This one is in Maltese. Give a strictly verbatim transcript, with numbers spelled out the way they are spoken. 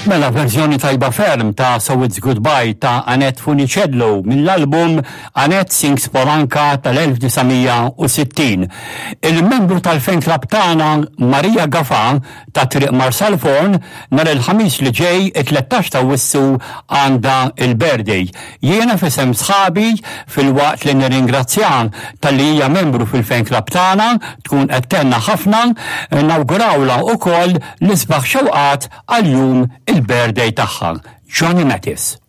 Mela, verżjoni tajba ferm ta' So It's Goodbye ta' Annette Funicello mill-album Annette Sings Paul Anka tal-elf disa' mija u sittin. Il-membru tal-fan club tagħna Maria Gafa ta' Triq Marsalforn nhar il-Ħamis li ġej, it-tlettax ta' Awwissu, għandha il-birthday. Jiena f'isem sħabi, filwaqt li nirringrazzja talli hija membru fil-fan club tagħna, tkun qed tgħinna ħafna, nawgurawla ukoll l-isbaħ xewqat għal jum il-birthday tagħha. Johnny Mathis.